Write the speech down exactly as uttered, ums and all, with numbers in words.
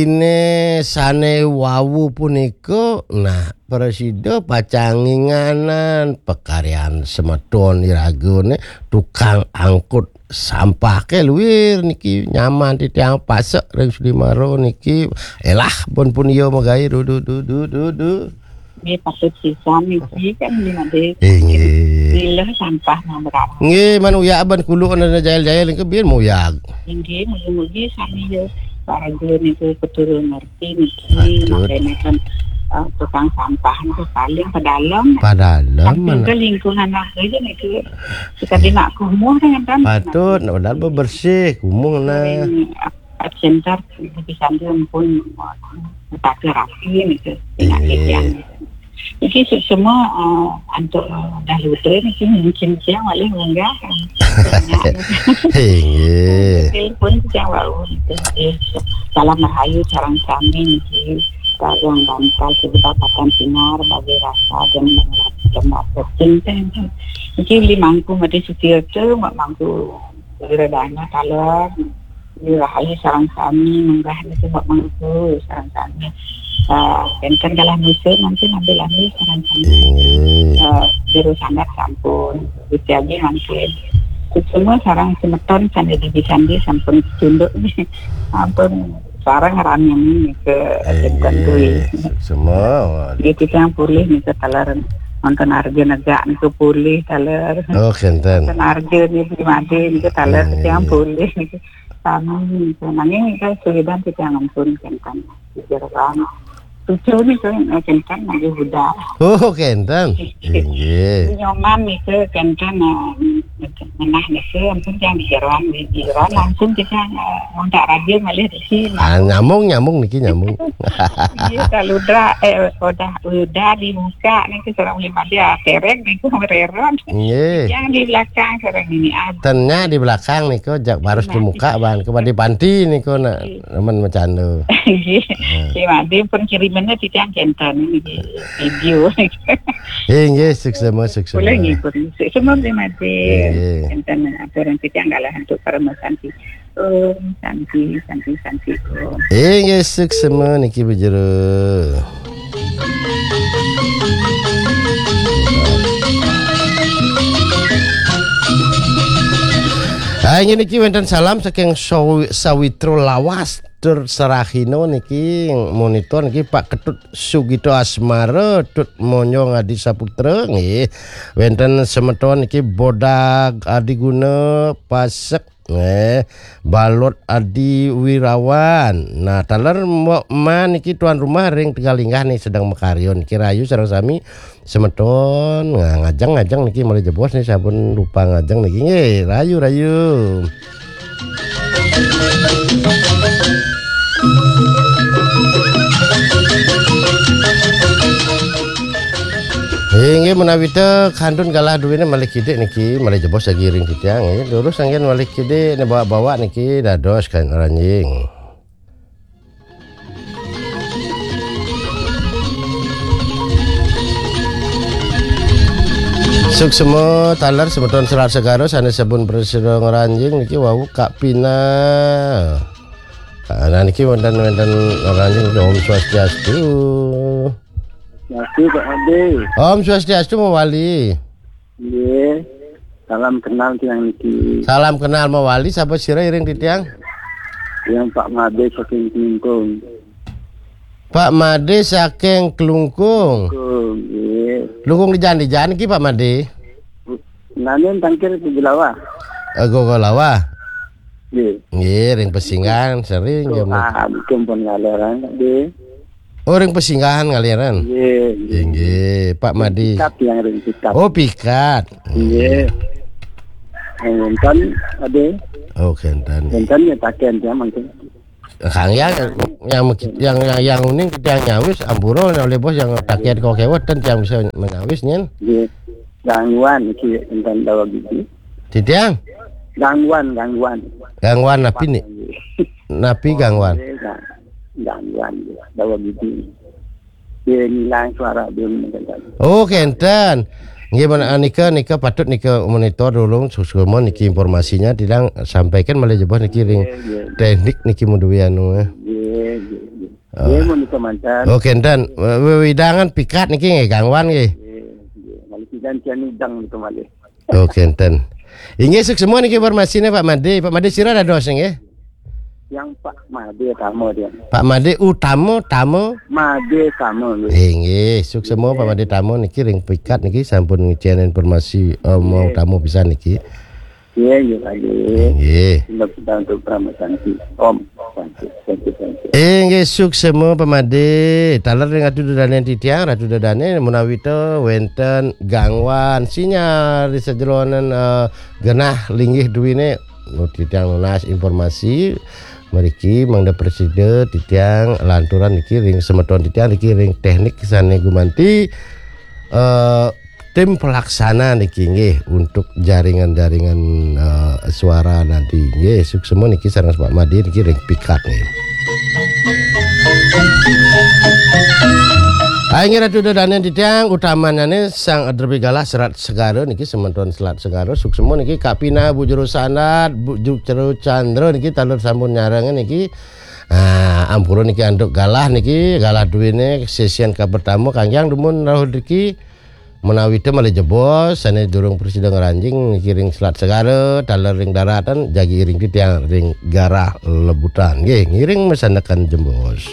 Ine sane wau punika, nah, prasida pacang nginganan pakaryan semeton iragane tukang angkut sampah ke luir niki nyaman titiang pasek ring Sudimara niki. Elah, pun pun iya magae, du, du, du, du, du, du. Nggih, patut pisan niki kan nggih, Ade. Inggih. Milah sampah mah merawat. Nggih, man uyag ban kuluk ana jail-jail niki biar muyag. Inggih, mugi-mugi sami ya warga niku keturun ngerti niki. Patut. Makanya kan, eh, tukang sampah niku paling padalem. Padalem, samping mana? Ke lingkungan aja niku. Kita di nak kumuh kan, kan? Patut, nak padahal bebersih, kumuh nah. Sering, eh, center, bisa pun, eh, tak rapi niku. Inggih. Penyakit yang Iki suksma, eh, antuk, eh, Daluda niki mungkin tiang malih munggah. Inggih. Telepon tiang wau niki. Nggih. Salam rahayu sareng sami niki. Sareng bantal sejuta patang sinar bagi rasa dan penting teh. Niki uli mangku mati sutir tu, mak mangku Uli redana taler. Uli rahayu sareng sami, munggah niki mak mangku sareng sami. Ah, enten kalah musim nanti ambil-ambil sareng sami. Inggih. Ah, juru sandat sampun. Gusti Agi mangkin. Semua sareng semeton sandi di sandi sampun tunduk. Ampun sareng rami nika. Inggih. Semua. Dia kita yang pulih nika taler. Wonten arja negak nika pulih taler. Oh, kenten. Wonten arja nika made nika taler. Inggih. Tiang pulih nika. Sami nika. Nanging nika sulidan tiang ampun kenten. Jeroan. Cucu nika, eh, kenten lagi udah. Oh, kenten. Inggih. Nyoman nika kenten, eh, menah nika ampun tiang di jeroan, di jeroan langsung kita, eh, ngontak radio malih di sini. Ah, nyambung, nyambung niki, nyambung. Iya, kalau udah, eh, udah, udah dibuka niki sareng lima dia tereng niki mereron. Nggih. Yang di belakang sareng ini ada. Tenya di belakang niku jak baris di muka ban ke di panti niku nak nemen macanda. Nggih. Terima kasih pun kirimannya titiang kenten niki video. Inggih, suksma, suksma. Boleh nggih, pun. Semua terima kasih. Inggih. Kenten apa orang titiang galah untuk para masanti. Om Santi, Santi, Santi, Om. Inggih, suksma niki bejero. Ah, inggih niki wenten salam saking Sawi-, Sawitra Lawas, Tur Sarahina niki monitor niki Pak Ketut Sugito Asmara, Tut Monjong Adi Saputra nggih. Wenten semeton niki Bodag Adiguna Pasek Nggih, Balot Adi Wirawan. Nah, taler Mbok Ma niki tuan rumah ring Tegalinggah nih sedang makarya niki rayu sareng sami semeton. Nah, ngajeng-ngajeng niki malih jebos nih sampun rupa ngajeng niki nggih, rayu-rayu. Inggih menawi te kantun galah duwene malih kidik niki, malih jebos lagi ring titiang nggih. Durus anggen malih kidik ne bawa-bawa niki dados kan ranjing. Suksma taler semeton selar segara sane sabun prasida ngranjing niki wau Kak Pina. Nah, niki wonten, wonten ngranjing Om Swastiastu. Swastiastu, Pak Ade. Om Swastiastu, mawali. Nggih. Salam kenal tiang niki. Salam kenal mawali, sapa sira iring titiang? Tiang Pak Made saking Klungkung. Pak Made saking Klungkung. Klungkung, nggih. Klungkung di Jan, di Jan iki, Pak Made? Nanen tangkir ke Gulawa. Eh, Gulawa. Nggih. Nggih, ring Pesinggahan sering. Ah, niki pun ngaleran, nggih. Oh, ring Pesinggahan ngaliran. Nggih, nggih. Inggih, Pak Madi. Pikat yang ring pikat. Oh, pikat. Nggih. Wonten, Ade. Oh, kenten. Wonten ya taken ya mangkin. Kang ya, yang, yang, yang, yang uning titiang nyawis, ampura oleh bos yang taken kok kewet ten tiang bisa menyawis nyen. Nggih. Gangguan iki enten dawa gigi. Titiang? Gangguan, gangguan. Gangguan napi ni? Napi gangguan? Nggih, gang-, gangguan, nggih. Dawa gigi. Dia ngilang suara dia mendengar. Oh, kenten. Nggih, men-, ah, nika, nika patut nika monitor dulu, suksma niki informasinya, tidak sampaikan malih jebos niki ring teknik niki mudui anu, eh. Nggih, nggih. Nggih, menika manten. Oh, kenten. We-, wewidangan pikat niki nggih, gangwan nggih. Nggih, nggih. Malih pidan kian udang niku malih. Oh, kenten. Inggih, suksma niki informasiné, Pak Madé. Pak Madé sira dados nggih? Yang Pak Madé Tama dia. Pak Madé Utama, Tama. Madé Tama nggih. Inggih, suksma Pak Madé Tama niki ring pikat niki sampun ngicén informasi, eh, mau Nggih. Tamu pisan niki. Iya, iya, Pak Madé. Inggih. Tindak kita untuk Parama Santi. Om Santi, Santi, Santi. Inggih, suksma Pak Madé. Taler ring Ratu Dadané titiang, Ratu Dadané menawi ta wénten gangwan sinyal di sajeroning, eh, genah linggih duwiné. Nu titiang nunas informasi mriki mangda prasida titiang lanturan niki ring semeton titiang niki ring teknik sané gumanti, eh, tim pelaksana niki nggih untuk jaringan-jaringan, eh, suara nanti nggih. Suksma niki sareng Pak Madé niki ring pikat nggih. Inggih Ratu Dadané titiang, utamanane Sang Adrepi Galah Selat Segara niki, semeton Selat Segara, suksma niki, Kapina Bu Juru Sandat, Bu Juru Candra niki taler sampun nyarengin niki. Ah, ampura niki antuk galah niki, galah duwene sesian kapertama kangge dumun rauh niki menawi ta malih jebos sane durung prasida ngranjing niki ring Selat Segara, taler ring daratan, jagi iring titiang ring Garah Lebutan. Nggih, ngiring masandekan jebos.